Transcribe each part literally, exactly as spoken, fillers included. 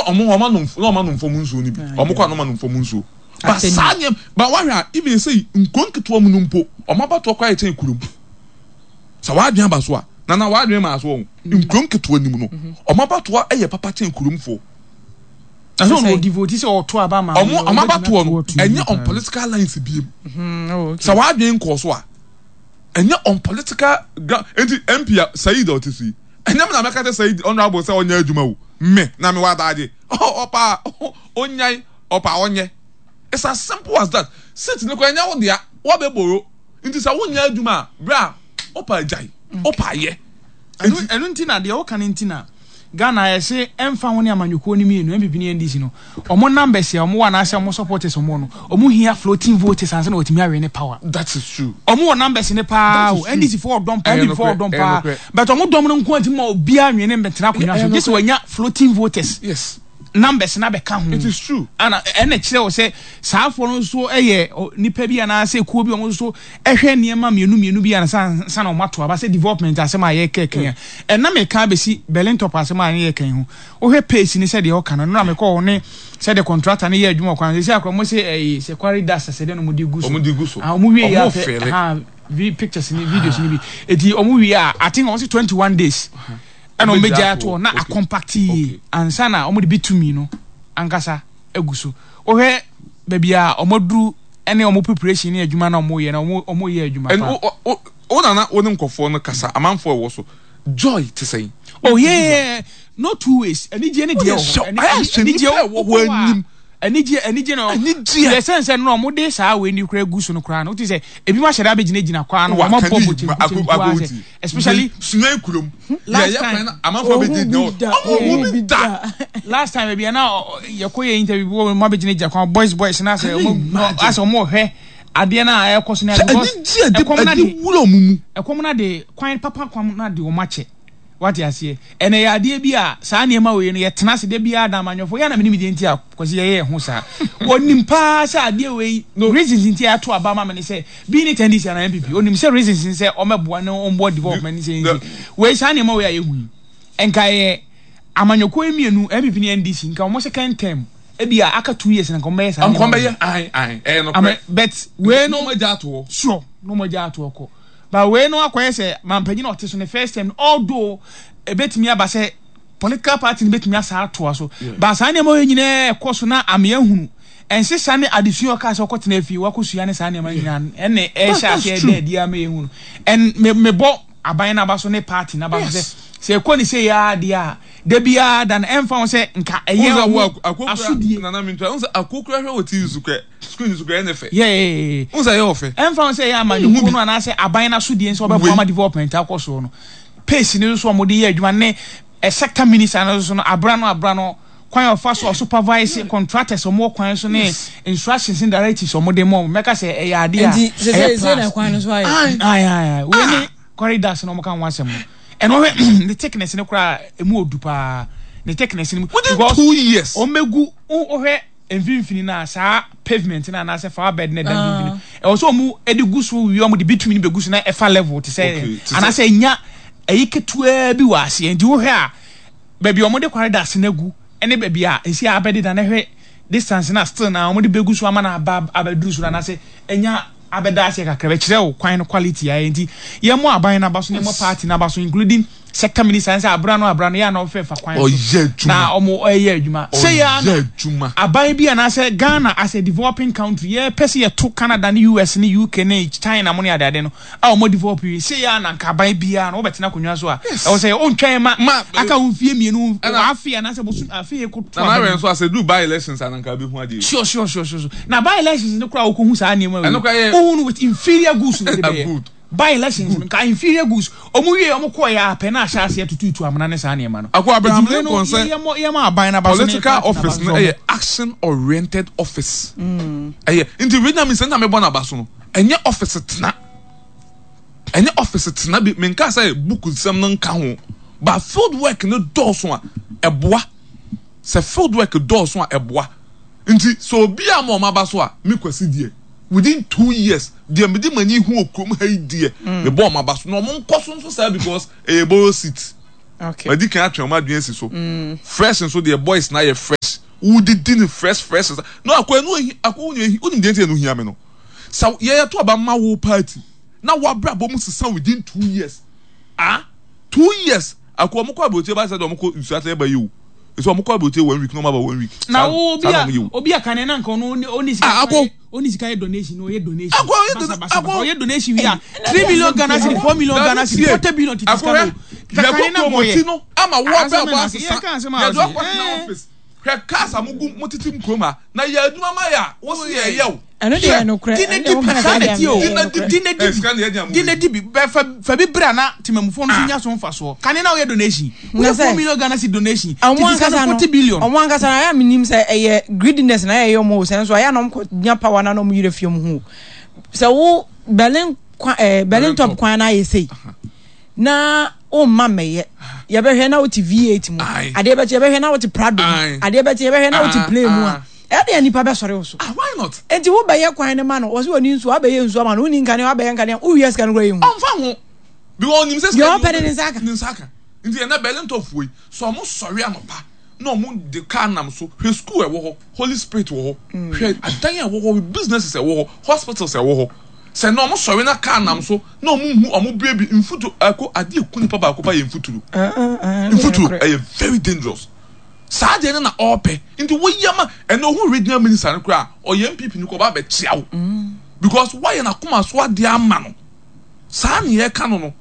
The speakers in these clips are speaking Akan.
Ɔmo ɔmo anom na ɔmo anom fam nsuo no bi. Ɔmo kɔ anum anom fam nsuo. Ba saa nneɛma ba wahwɛ a, even sɛ nkuro nketewa mu no mpo, ɔmo abatoɔ kɔ ayɛ kyɛn kurom. Sɛ wadwene aba so a, nana wadwene maa so wɔn nkuro nketewa nim no, ɔmo abatoɔ yɛ papa kyɛn kuromfoɔ. Na sɛ ɔno ɔdi vote sɛ ɔto aba ma ɔmo ɔmo abatoɔ no ɛnyɛ on political lines biem. Sɛ wadwene nkɔɔ so a, ɛnyɛ on political ground. Nti M P a Said a ɔte so yi, ɛnyɛ mi na mɛka kyɛ Said honourable sɛ ɔnyɛ adwuma o. Me na mi wɔ adaagye ɔpa ɔnyan ɔpa ɔnyɛ. It's as simple as that. Seat ne kɔ ɛnyɛ wo dea, wabɛ boro nti sɛ wonyɛ adwuma a, bere a ɔpa agyae ɔpa ayɛ. ɛno ɛno nti na deɛ ɔka no nti na Ghana yɛsɛ ɛmfa ho ne amanyɔkuo no mmienu, N P P ne N D C no, ɔmo numbers a ɔmo wɔ anaasɛ ɔmo supporters ɔmo no, ɔmo hia floating voters ansa na wɔtumi awe ne power. That is true. Ɔmo wɔ numbers ne paa o. That is N D C fo ɔdɔm paa, Ɛyɛ N P P fo nokorɛ, ɔdɔm ɛyɛ paa nokorɛ. But ɔmo dɔm no nko antimi ma obiara nwene mbɛtena akonnwa so Ɛyɛ gye sɛ nokorɛ. wɔanya floating voters yes numbers na bɛka ho. It is true. Ana ɛna kyerɛ wɔ sɛ saa afoɔ no nso yɛ ɔ, nipa bi anaasɛ kuo bi a wɔn nso ɛhwɛ nneɛma mmienu mmienu bi ansa ansa na wɔn ato aba sɛ development asɛm a yɛreka kan a ɛna meka abɛsi Berlin Top asɛm a yɛreka yi ho. Wohwɛ pace ni sɛdeɛ ɔka no no na mekɔ hɔ ne sɛdeɛ contractor ne yɛ adwuma wɔ kwan sɛ akora mo sɛ ɛyi sɛ quarry dust sɛ deɛ no mo de gu so. Ɔmo de gu so. Ah, ɔmo wie yɛ Ɔmo apɛ fɛlɛ. Ha vi pictures ni, videos ni bi eti ɔmo wie a, I think ɔmo sɛ twenty one days ɛna ɔmo bɛgya ato hɔ na Okay. acompact yie Okay. ansa na ɔmo de bitumi no ankasa egu so. Wohwɛ baabi a ɔmo aduru ɛne ɔmo preparation ne adwuma na ɔmo yɛ na ɔmo ɔmo yɛ adwuma ɛn pa. wo wo wo nana wo ne nkɔfoɔ no kasa, amanfoɔ ɛwɔ so joy te sɛn? Oh yeah, no two ways, anigye ne deɛ wɔ hɔ. Woyɛ hyɛ- ayɛ hyɛ Anigye nipa a ɛwɔ hɔ anim. Anigye, anigye na Anigye. Yɛ sɛn sɛ no ɔmo de saa wei ni kura gu so no koraa no, wote sɛ ebi mo ahyɛ da abɛgyina gyina kwan no Wa- ɔmo kan bɔ yi mo kyenku ako- kyenku ako asɛ especially Sunyani kurom Last yɛyɛ time- kwan na amanfoɔ bɛ gyina Ohun hɔ. bi da, Ɔmo ohun hu bi bi da. da. Last time ebi na yɛkɔ yɛ interview bi wɔ mo abɛgyina gyina kwan, boys boys na sɛ ɔmo asɛ ɔmo hwɛ adeɛ na ɛkɔ so na Sɛ because anigye a ɛde ɛkɔm na ɛde de wura ɔmo mu. Ɛkɔm na de kwan papa kwan na de wɔn akyɛ, wate aseɛ? Ɛnna yɛ adeɛ bi a saa nneɛma wei no yɛtena ase de biara da amanyɔfo yɛn na menim deɛ nti a kɔsi yɛyɛ ho saa. Onim paa sɛ adeɛ wei reasons nti a yɛato aba ama me ne sɛ bi ne N D C ana N P P. Onim sɛ reasons n sɛ ɔmɛboa ne ɔmboa development ne sɛ nti wei saa nneɛma wei a yɛhu yi, nka yɛ amanyɔkuo yi mmienu, N P P ne N D C, nka wɔn second term ebi a aka two years na nka wɔn bɛyɛ saa nkɔm nneɛma wei. Bɛyɛ ayi ayi ɛyɛ Ama nokorɛ. but wei no na ɔmo agya ato hɔ. Sure, na ɔmo agya ato hɔ kɔ, but wei no akɔyɛ sɛ mampanyin a ɔte so ne first term, although ebetumi aba sɛ political party no betumi asa atoa so, but saa nneɛma wei nyinaa ɛkɔ so na amea hunu ɛnsesa ne adesua ɔka sɛ ɔkɔtena fie wakɔsua ne saa nneɛma nyinaa ɛne ɛhyɛ That's aseɛ true. dɛ adi ama yɛhu no. And me mebɔ aban n'aba so ne party n'aba so sɛ Yes. sɛ ɛkɔ ne sɛ yɛ adeɛ a da biara da no ɛmfa ho sɛ nka ɛyɛ Wọ́n sɛ ɔmo wo akokura asodie. Nana mi ntura wọ́n sɛ akokura hwɛ wɔ T V so kura screen so kura ɛnɛ fɛ. Yeah, yeah, yeah. Wọ́n sɛ ɛyɛ ɔfɛ. Ɛmfa ho sɛ ɛyɛ amanyɔkuo no anaasɛ aban no asodie nso ɔbɛboa ama development akɔ soɔ no, pace no nso a wɔde yɛ adwuma ne ɛ sector minister no nso no abra no abra no kwan a ɔfa so a supervise contractors a wɔwɔ kwan so ne instructions ne directives a wɔde ma wɔn, mɛka sɛ ɛyɛ adeɛ a Nti sɛ ɛyɛ sɛ sɛ na plus. kwan no so ayɛ. Ayi ayi ayi, wei ne corridors na wɔn ka ho asɛm no, ɛna ɔhwɛ ne thickness ne koraa emu odu paa, ne thickness ne mu. Within Because two years. wɔn bɛgu, wohwɛ mfimfini na saa pavement na anaasɛ flower bed na ɛda mfimfini, ɛwɔ sɛ ɔmo de gu so wie, ɔmo de bitumen bɛgu so na ɛfa level te sɛ Okay, te sɛ- anaasɛ enya ɛyi ketewa bi wɔ aseɛ. Nti wohwɛ a, baabi a ɔmo de corridors no agu ɛne baabi a esi a abɛdeda na hwɛ distance na still na ɔmo de bɛgu so ama na aba abɛduru so anaasɛ enya abɛda aseɛ kakra, bɛkyerɛ wo kwan no quality ayɛ. Nti yɛmmɔ aban n'aba so ne yɛmmɔ party n'aba so, including sector minister sɛ abra no abra no yɛ a na ɔfɛ fa kwan so Ɔyɛ adwuma. Na ɔmo ɛyɛ adwuma sɛ yɛ Ɔyɛ ana adwuma. Aban bi anaasɛ Ghana as a developing country, yɛpɛ sɛ yɛto Canada ne U S ne U K ne China mo ne adeade no a ɔmo develop yi sɛ yɛ ana nka aban biara no wobɛtena akonnwa so a, ɛwɔ sɛ ɔntwɛn ma Ma- aka wo mfie mmienu Ɛna- afe anaasɛ bosom afe yɛ kɔto Nana aba awɛ mu. Nso asɛ du by elections ananka bi hu adeɛ. sure sure sure sure sure na by elections no koraa wokɔhu saa nneɛma wei Ɛno koraa yɛ- wohu no with inferior goods na de bɛyɛ. Good. By elections no nka inferior goods ɔmo wie, ɔmo kɔɔ yɛ apɛ na ahyɛ aseɛ tututu amena ne saa nneɛma no. Ako Abraham Enti wei no, Lincoln sɛ yɛ- yɛmmɔ yɛmmɔ aban n'aba so ne political party n'aba office so no sɛ ɛyɛ action oriented office. Ɛyɛ nti regional minister na mebɔ n'aba so no, ɛnyɛ office tena, ɛnyɛ office tena bi. Menka sɛ book nsɛm no nka ho, but field work no dɔɔso a ɛboa. Sɛ field work dɔɔso a ɛboa. Nti sɛ obi a ma ɔmo aba so a, me Kwasi deɛ, within two years deɛ mede m'ani hu wɔ kurom ha yi deɛ, mebɔ ɔmo aba so na ɔmo nkɔ so nso saa because ɛyɛ borrow seat. Okay. Madi kan atwe ɔmo adwene si so. Fresh nso deɛ, boys na yɛ fresh, wodidi ne fresh fresh no akɔ ɛnu ehi akɔ wonu ehi wonim deɛ nti ɛnu hia mi no sɛ yɛyɛ to aba ma wo party na wabrabɔ mu sisa within two years, ah, two years akɔ. Ɔmo kɔ aburokye ba sɛ de ɔmo kɔ nsu ase ɛba yi o, nso ɔmo kɔ aburokye one week na ɔmo aba one week. Na wo obi Saa na a ɔmo yɛ o. Obi a kane na nka ɔno ɔni sika. Ah, ako. Ɔni sika yɛ donation, ɔyɛ donation. Ako, ɔyɛ Basa, dona- basa, ako. basa. Ɔyɛ donation wi a, three million Ghana cedi, four million Dabi, Ghana cedi, tie. forty billion titi sika Akɔhwɛ no kakane yɛkɔ na promote nkɔyɛ no ama wo Asɛm abrabɔ na- asesa. yɛka asɛm a Yɛde ɔse, wakɔ tena eh. office, hwɛ cars a mogu motete mu kurom ha na yɛ adwuma ma yɛ a wosi yɛ yɛ o. Ɛno deɛ yɛ nokorɛ. Di ne Ɛno di deɛ bi woka saa sɛ na deɛ ti o. ɛyɛ nokorɛ. Di ne di Eh, sika na yɛde bi amu di ne di bi bɛ fa fa bi bere a na temamufoɔ no so nya so mfasoɔ. Kane na woyɛ donation, Na woyɛ sɛ- four million Ghana cedi donation, ɔmo titi sika ankasa no no forty billion. Ɔmo ankasa no, ayɛ a menim sɛ ɛyɛ greediness na ɛyɛ ɔmo o, sɛ nso ayɛ a na ɔmo kɔ nya power na na ɔmo yerɛ fie ɔmo ho o. Sɛ wo Berlin kwan ɛɛ Berlin Top Top. Kwan na ayɛ sei na womma mmɛyɛ, yɛbɛhwɛ na wote V eight mu. Aye. Adeɛ bɛkye, yɛbɛhwɛ na wote Prado mu. Aye. Adeɛ bɛkye, yɛbɛhwɛ na wote Ah, plane mu a ah. ɛdeɛ nipa bɛsɔre wo so. Ah, why not? Enti wobɛyɛ kwan no ma no, wɔsɛ wɔni nsuo, wabɛyɛ nsuo ama no, woni nkanea, wabɛyɛ nkanea, wowie sika no kora yɛ hu. Ɔnfa ho because onim sɛ Deɛ ɔpɛ ne ne nsa aka. Ne nsa aka. Nti ɛnɛ Berlin Top foɔ yi so, ɔmo sɔre anɔpa na ɔmo de car nam so. Hwɛ school ɛwɔ hɔ, Holy Spirit wɔ hɔ, hwɛ adan a ɛwɔ hɔ, businesses ɛwɔ hɔ, hospitals ɛwɔ hɔ. Sɛ na ɔmo sɔre na car nam so na ɔmo hu ɔmo bue bi mfuturo ɛko adeɛ eku nipa baako pa yɛ mfuturo. Mfuturo ɛyɛ very dangerous. Saa deɛ no na ɔɔpɛ. Nti woyɛ ma ɛnna ohun regional minister no koraa, ɔyɛ N P P no kɔ, ɔba abɛkyia wo because wayɛ n'akoma so adeɛ ama no. Saa ne yɛka no no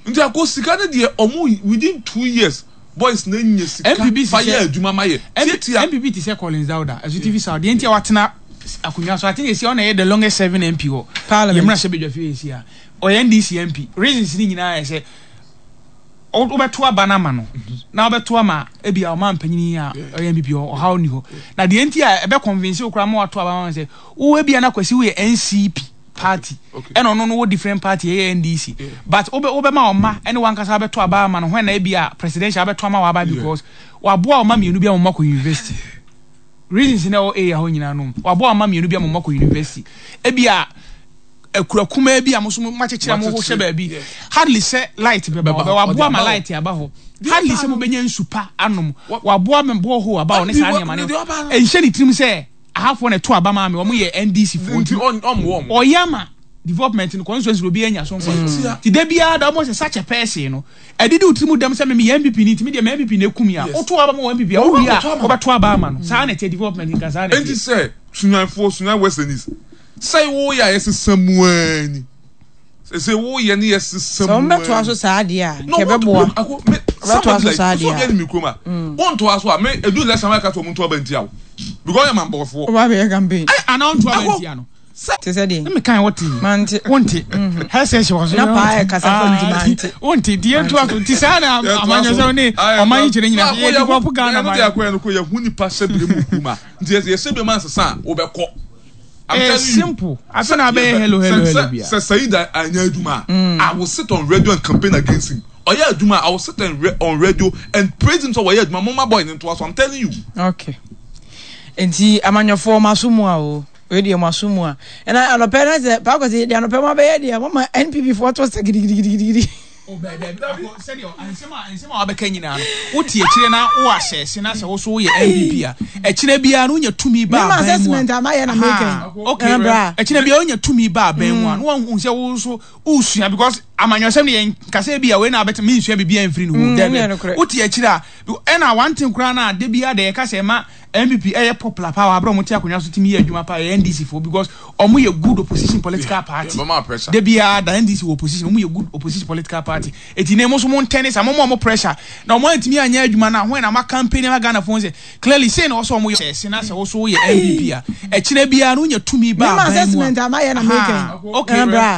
Nti akɔ sika no deɛ, ɔmo within two years boys na nya sika N P P fa yɛ sisɛ- adwuma ma yɛ tietia. N P P ti sɛ Collins Dauda Ɛso T V South deɛ, nti a watena akonnwa so ate esi, ɔna yɛ the longest serving M P hɔ. Parliament. Yɛmuna hyɛ badwa fie esi a ɔyɛ N D C M P. Reasons ni nyinaa yɛ sɛ ɔ- wobɛto aba no ama no na wobɛto ama ebi a ɔma mpanyin a ɔyɛ N P P hɔ, ɔhaw ni hɔ. Na deɛ nti a ɛbɛ convince wo koraa ma wato aba ma no sɛ wo ebi a na Kwasi woyɛ N C P party Okay. ɛna ɔno no wɔ different party, ɛyɛ N D C, but wobɛ wobɛma ɔma ɛne wankasa wobɛto aba ama no hɔn na ebi a presidential wobɛto ama waba because waboa ɔma mmienu bi a wɔn akɔ university. Reasons na ɛwɔ area hɔ nyinaa no, waboa ɔma mmienu bi a wɔn akɔ university. Ebi a akura kumaa bi a mo nso mo akyekyere a mo hyɛ baabi, hardly sɛ light bɛba Bɛba hɔ. hɔ, ɔde Waboa ma aba hɔ. light aba hɔ, hardly sɛ mo bɛnya nsu pa anom. Waboa ma borehole aba hɔ ne saa nneɛma no. Deɛ ɔba no. Ɛnhyɛ ne tirim sɛ ahafoɔ na ɛto aba maa mi, wɔn yɛ N D C foɔ. Nti ɔn ɔmo ɔmo Ɔyɛ ama development no, constituency obi anya so nfa Tia. ti de biara da ɔmo sɛ such a person no ɛdidi wo tirim dɛm sɛ mimi yɛ N P P ni, ntumi deɛ mɛ N P P na ekum ya. Yes. Woto aba ma wɔ N P P a, wowie a Wɔbɛto ama. wɔbɛto aba ama no. Saa na ɛteɛ, development nka saa na Enti ɛteɛ. Sɛ Sunyanfoɔ, Sunyan West and East, sɛ woyɛ a yɛsesa mu ani sɛ woyɛ ne yɛsesa Sɛ mu wɔn bɛtoa so saa adeɛ a No, nkɛ bɛboa. Ako me Ɔbɛtoa somebody so like saa so deɛ obi a. anim kurom a wontoa so a, me edu election wa ka so ɔmo ntoa ba ntia wo because ɔyɛ mambɔfoɔ. Ɔba abɛyɛ campaign. Ɛ ana ɔnto aba Ako. ntia no. Te sɛ deɛ Ne mekan wɔte. Mante. Wonte hɛsɛ hyɛ wɔ so. Na paa yɛ kasa fa nti mante. Wonte nti yɛntoa so. Nti saa na amanyɔsɛm ne ɔman yi kyerɛ nyinaa yɛ develop Ghana ɛno man. deɛ akɔyɛ no kɔ yɛhu nipa hyɛ bere mu kurom a, nti yɛ yɛhyɛ bere mu ansesa a, wobɛkɔ. I'm Eh, telling you. Simple afei na abɛyɛ hello hello Sɛ- hello sɛ bia. Sɛ Said anya adwuma a, I will sit on radio and campaign against him. Ɔyɛ adwuma a, I will sit on, on radio and praise him sɛ wɔyɛ adwuma, mo ma boy ne ntoa so. I'm telling you. Okay, nti amanyɔfoɔ mo aso mu a o, wei deɛ mo aso mu a, ɛna anɔpɛ na sɛ paakɔsi deɛ anɔpɛ mo abɛyɛ deɛ mo ma N P P foɔ to sɛ gidigidigidi. Sɛdeɛ nsɛm a nsɛm a wabɛka nyinaa no, wote akyire na wo ahyɛse na sɛ wo so woyɛ N P P a, akyire biara no wonya tumi ba Mema aban mu a assessment a mayɛ na meka yi. Okay. Ɛna bra. Akyire biara wonya tumi ba aban mu a, na wahu sɛ wo nso wosua because amanyɔsɛm no yɛn kasa bi a wei na abɛte mensua biribiara mfiri ne ho. Mm, Dabi. ɛnyɛ nokorɛ. Wote akyire a, ɛna one thing koraa no a da biara da yɛka sɛ ɛma N P P ɛyɛ popular paa wɔ aberɛ a ɔmo te akonnwa so tumi yɛ adwuma paa yɛ N D C foɔ because ɔmo yɛ good opposition political party. Bɛma pressure. Da biara da N D C wɔ opposition, ɔmo yɛ good opposition political party. Eti ne mo nso mo ntɛne sa mo mo ɔmo pressure na ɔmo antumi anyɛ adwuma na ahɔn na mo campaign ama Ghana fo sɛ clearly say na ɔsɛ ɔmo yɛ sɛ na sɛ ɔso yɛ N P P a, ɛkyinɛ biara no wonya tumi ba Mema aban mu assessment a a mayɛ na meka yi. Okay. Ɛna bra.